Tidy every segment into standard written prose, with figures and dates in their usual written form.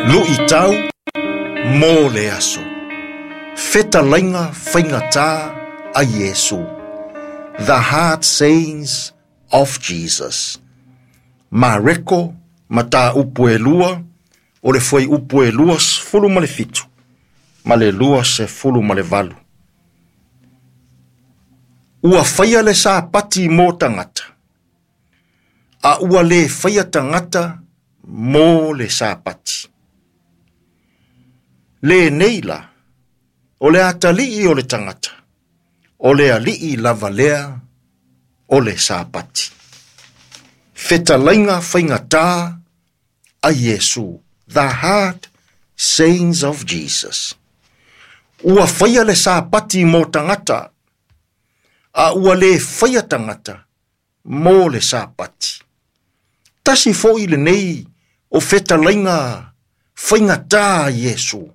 Luʻitau mo le aso. Fetalaiga faigata a Iesu. The Hard Sayings of Jesus. Mareko, mataupu e 2, o le fuaiupu e 27 ma le 28. Ua faia le Sapati mo tagata, a ua le faia tagata mo le Sapati. Lenei la, o le atalii o le tagata, o le alii lava lea o le Sapati. Fetalaiga faigata a Iesu, The Hard Sayings of Jesus. Ua faia le Sapati mo tagata, a ua le faia tagata mo le Sapati. Tasi foʻi lenei o fetalaiga faigata a Iesu.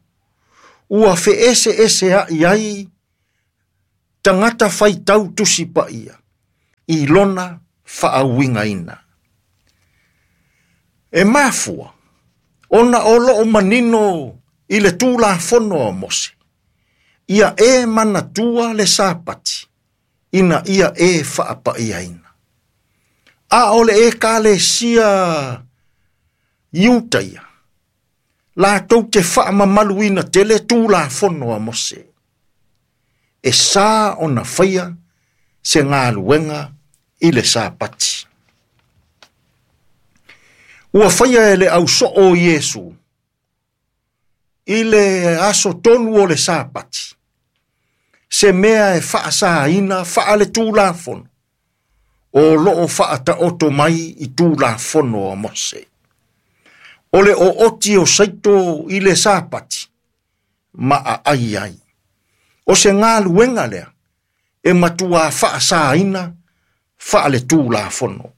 Ua feeseeseaʻi ai tagata faitau Tusi Paia i lona faauigaina. E mafua ona o loo manino i le Tulafono a Mose, ia e manatua le Sapati ina ia e faapaiaina. A o le Ekalesia Iutaia, latou te faamamaluina tele Tulafono a Mose, e sa ona faia se galuega i le Sapati. Ua faia e le ausoo o Iesu i le aso tonu o le Sapati, se mea e faasaina faale-tulafono o loo faataoto mai i Tulafono a Mose. O le ooti o saito i le Sapati ma aai ai. O se galuega lea e matua faasaina faale-tulafono.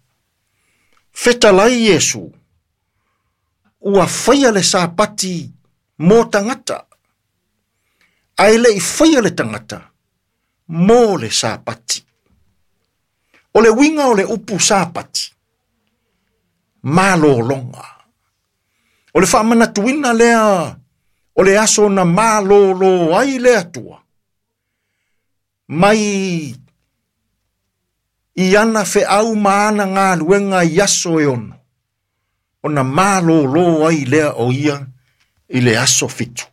Fetalai Iesu, ua faia le Sapati mo tagata, ae le i faia le tagata mo le Sapati. O le uiga o le upu Sapati, malologa. O le faamanatuina lea o le aso na malolo ai le Atua mai i ana feau ma ana galuega i aso e 6, ona malolo ai lea o ia i le aso 7.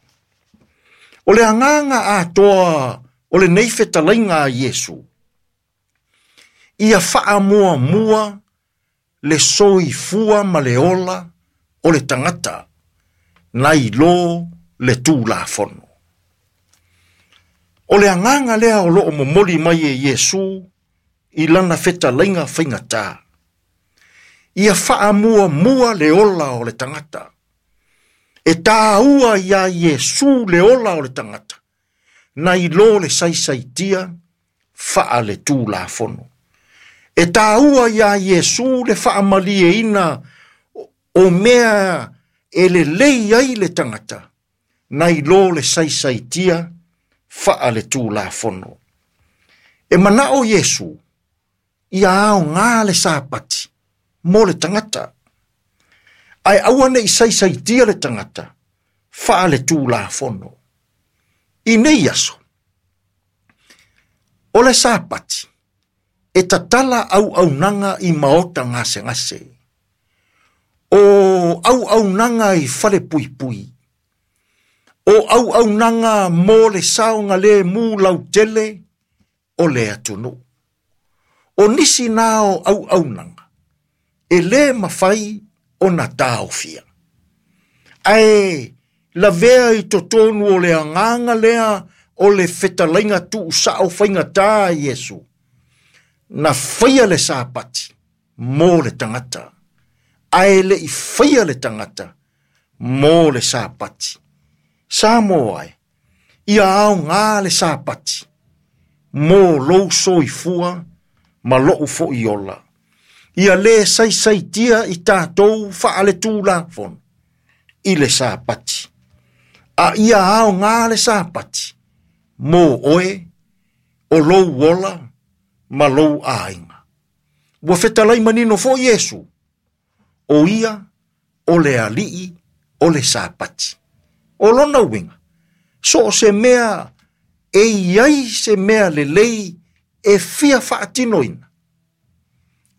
O le agaga atoa o lenei fetalaiga a Iesu, ia faamuamua le soifua ma le ola o le tagata, nai lo le Tulafono. O le agaga lea o loo momoli mai e Iesu i lana fetalaiga faigata. Ia faamuamua le ola o le tagata. E tāua ia Iesu le ola o le tagata, nai lo le saisaitia faale Tulafono. E tāua ia Iesu le faamalieina o mea e lelei ai le tagata, nai lo le saisaitia faale Tulafono. E manao Iesu ia aoga le Sapati mo le tagata, ae aua nei saisaitia le tagata faale Tulafono. I nei aso, o le Sapati e tatala auaunaga i maota gasegase, o auaunaga i fale puipui, o auaunaga mo le saoga le mu lautele o le atunuu. O nisi na o auaunaga e le mafai ona taofia. Ae lavea i totonu o le agaga lea o le fetalaiga tuusao faigata a Iesu, na faia le Sapati mo le tagata, ae le i faia le tagata mo le Sapati. Samoa e, ia aoga le Sapati mo lou soifua ma lou foʻi ola. Ia le saisaitia i tatou faale-tulafono i le Sapati, a ia aoga le Sapati mo oe o lou ola ma lou aiga. Ua fetalai manino foʻi Iesu, o ia o le alii o le Sapati. O lona uiga, so o se mea e i ai se mea lelei e fia faatinoina,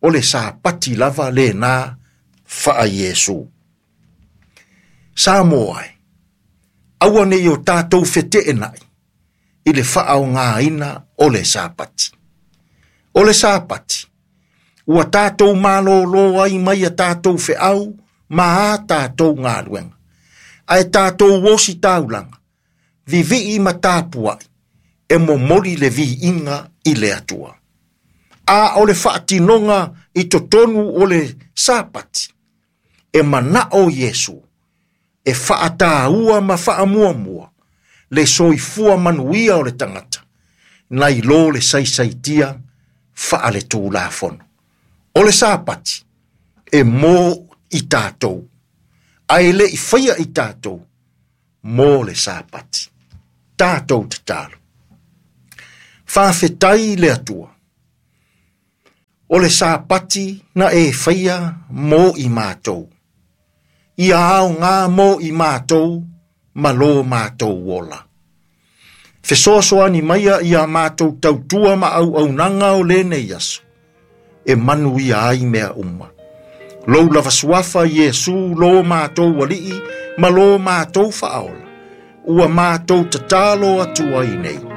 o le Sapati lava lena faa-Iesu. Samoa e, aua ne i o tatou feteenai i le faaaogaina o le Sapati. O le Sapati, ua tatou malōlō ai mai a tatou feau ma a tatou galuega, ae tatou ositaulaga, vivii ma tapuai, e momoli le viiga i le Atua. A o le faatinoga i totonu o le Sapati, e manao Iesu, e faataua ma faamuamua le soifua manuia o le tagata, nai lo le saisaitia faaletulafono. O le Sapati, e mo i tatou, ae le i faia i tatou mo le Sapati. Tatou tatalo. Faafetai le Atua. O le Sapati na e faia mo i matou. Ia aoga mo i matou ma lo matou ola. Fesoasoani maia ia matou tautua ma auaunaga o lenei aso, e manuia ai mea uma. Lou lava suafa Iesu lo matou Alii ma lo matou Faaola, ua matou tatalo atu ai nei.